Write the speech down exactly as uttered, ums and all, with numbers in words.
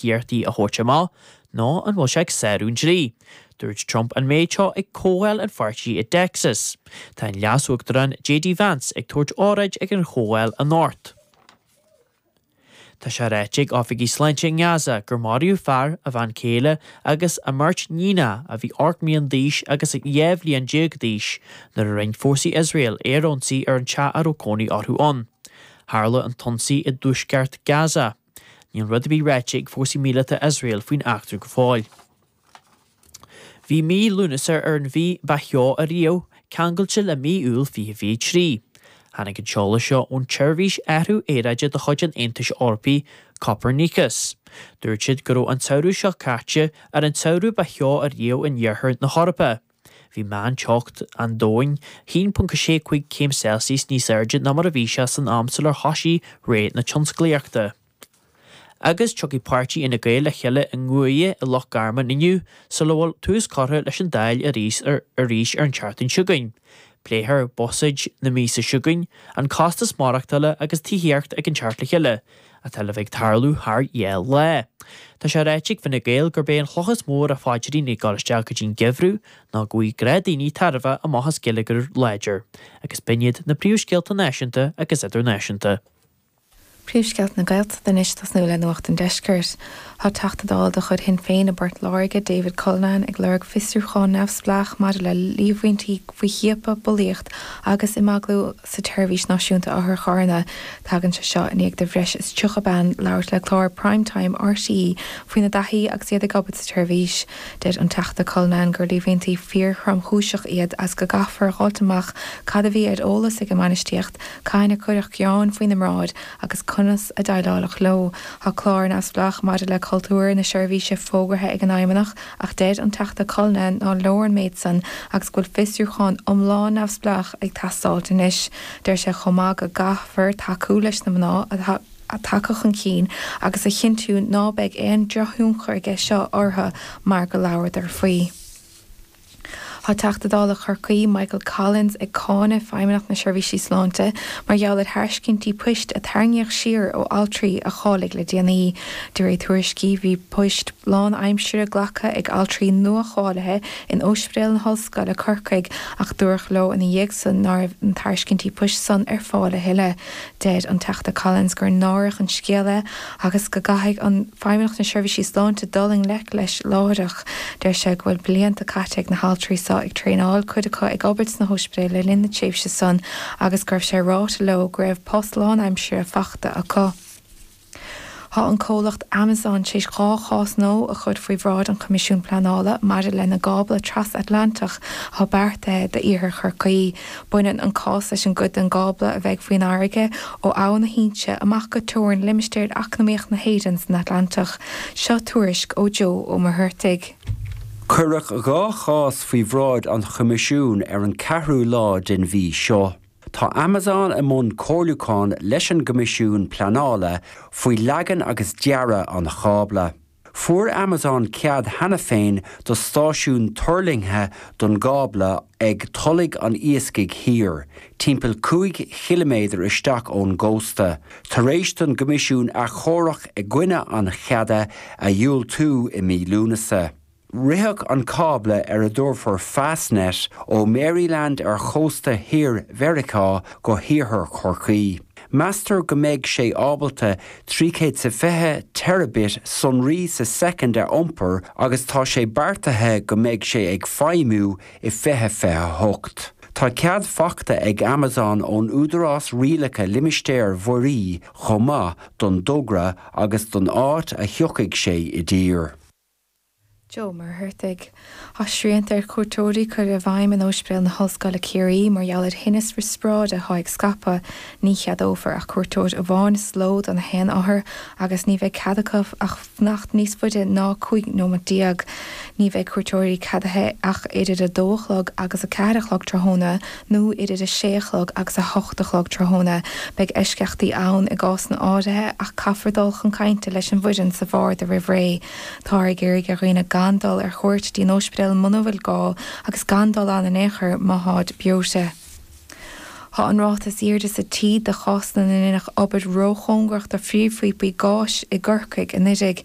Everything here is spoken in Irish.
iarrachtaí a thabhairt amach nó an bhfuil sé ag sárú an dlí. Dúirt Trump an méid seo ag comhdháil an pháirtí i dTexas. Tá an leas-uachtarán J.D. Vance ag tabhairt óráid ag an chomhdháil anocht. Tá sé ráite ag oifigigh sláinte i nGaza gur maraíodh fear, a bhean chéile agus a mbeirt níonacha a bhí ocht mbliana d'aois agus dhá bhliain déag d'aois nuair a rinne fórsaí Iosrael aerionsaí ar an teach a raibh cónaí orthu ann. Tharla an t-ionsaí i dtuaisceart Gaza. Níl rud ar bith ráite ag fórsaí míleata Iosrael faoin eachtra go fóill. Bhí mí Lúnasa ar an mhí ba theo ariamh ceangailte le mí Iúil fiche fiche trí. Tháinig an t-eolas seo ón tseirbhís athrú aeráide de chuid an Aontais Eorpaigh Copernicus. Dúirt siad go raibh an samhradh seo caite ar an tsamhradh ba theo ariamh in iarthar na hEorpa. Bhí meánteocht an domhain haon ponc a sé cúig céim Celsius níos airde ná mar a bhí sé san am sular thosaigh ré na tionsclaíochta. Agus tiocfaidh páirtí Fhine Gael le chéile i nGuaire i Loch Garman inniu sula bhfuil tús curtha leis an Dáil arís ar arís ar an tseachtain seo chugainn. Pléifear buiséad na míosa seo chugainn, an costas maireachtála agus tithíocht ag an teacht le chéile, atá le bheith ag tarlú thar dhá lá. Tá sé ráite ag Fine Gael gurb é an chloch is mó ar a phaidrín ag dul isteach go dtí'n geimhreadh ná go bhfaighidh gnáthdhaoine tairbhe amach as geilleagar láidir, agus b'in iad na príomhscéalta náisiúnta agus idirnáisiúnta. Príomhscéalta na Gaeltachta anois tosnú le Nuacht an Deiscirt. Tá Teachta Dála de chuid Shinn Féin i bPort Láirge, David Cullinane ag lorg fiosrúchán neamhspleách maidir le líomhaintí faoi chiapadh, bulaíocht agus imeaglú sa tseirbhís náisiúnta otharcharranna. Tagann sé seo i ndiaidh do bhreis is tríocha bean labhairt le clár Primetime RTÉ faoina dtaithí agus iad ag obair sa tseirbhís. Deir an Teachta Cullinane gur líomhaintí fíorthromchúiseach iad agus go gcaithfear a fháilt amach cad a bhí ar eolas ag an mbainistíocht, cathain a cuireadh gearán faoina mbráid agus conas a déileáladh leo. Tá clár neamhspleách maidir le cultúr na seirbhíse fógartha ag an Fheidhmeannach ach deir an Teachta Cullinane nár leor an méid san agus go bhfuil fiosrúchán iomlán neamhspleách ag teastáil anois. Deir sé chomh maith go gcaithfear tacú leis na mná atá tagtha chun cinn agus a chinntiú ná beidh aon drochthionchar aige seo orthu mar go labhradar faoi. Tá Teachta Dála Chorcaí Michael Collins ag cáineadh Feidhmeannacht na Seirbhísí Sláinte mar gheall ar thairiscintí poist a tarraingíodh siar ó altraí a cháiligh le déanaí. De réir tuairiscí bhí poist lánaimseartha glactha ag altraí nua-cháilithe in Ospidéal na hOllscoile Corcaigh ach dúradh leo ina dhiaidh san nach raibh na tairiscintí poist san ar fáil a thuilleadh. Deir an Teachta Collins gur náireach an scéal é agus go gcaithfidh an Feidhmeannacht na Seirbhísí Sláinte dul i ngleic leis láithreach. Deir sé go bhfuil blianta caite ag na haltraí seo ag traenáil cuid acu ag obair sna hospidéil le linn na tréimhse san agus go raibh sé ráite leo go raibh post lánaimseartha faighte acu. Tá an comhlacht Amazon tar éis dhá chás nua a chur faoi bhráid an Choimisiúin Pleanála maidir lena gcábla trasatlantach atá beartaithe d'iarthar Chorcaí. Baineann an cás leis an gcuid den gcábla a bheidh faoin fharraige ó Abhainn na hInse amach go teorainn limistéar eacnamaíoch na hÉireann san Atlantach. Seo tuairisc ó Joe Ó Muircheartaigh. Cuireadh dhá chás faoi bhráid an Choimisiúin ar an ceathrú lá den mhí seo. Tá Amazon i mbun comhairliúchán leis an gCoimisiún Pleanála faoi leagan agus dearadh an chábla. Fuair Amazon cead cheana féin do stáisiún tuirlingthe don gcábla ag Tulaigh an Iascaigh Thiar, timpeall cúig chiliméadar isteach ón gcósta, tar éis don gCoimisiún achomharc i gcoinne an cheada a dhiúltú i mí Lúnasa. Rithfeadh an cábla ar a dtabharfar Fastnet ó Maryland ar chósta thiar Mheiriceá go hiarthar Chorcaí. Meastar go mbeidh sé ábalta trí chéad is fiche terabit sonraí sa soicind a iompar agus tá sé beartaithe go mbeidh sé ag feidhmiú i fiche fiche a hocht. Tá cead faighte ag Amazon ón Údarás Rialaithe Limistéir Mhuirí chomh maith don dtogra agus don áit a thiocfaidh sé i dtír. Joe Muircheartaigh. Tá srianta ar chuairteoirí curtha i bhfeidhm in Ospidéal na hOllscoile Ciarraí mar gheall ar thinneas riospráide atá ag scaipeadh. Ní cheadófar ach cuairteoir amháin sa ló don haon othar agus ní bheidh cead acu ach fanacht níos faide ná cúig nóiméad déag. Ní bheidh cuairteoirí ceadaithe ach idir a dó a chlog agus a ceathair a chlog tráthnóna nó idir a sé a chlog agus a hocht a chlog tráthnóna. Beidh eisceachtaí ann i gcásanna áirithe ach caithfear dul chun cainte leis an bhfoireann sa bharda roimh ré. Tá ag iarraidh ar dhaoine gan dul ar chuairt dtí'n ospidéal muna bhfuil gá agus gan dul ann in aon chor má tháid breoite. Tá an ráta is airde sa tír de chásanna na ndaoine ag obair róchóngarach do phríomhphíopaí gáis i gCorcaigh anocht.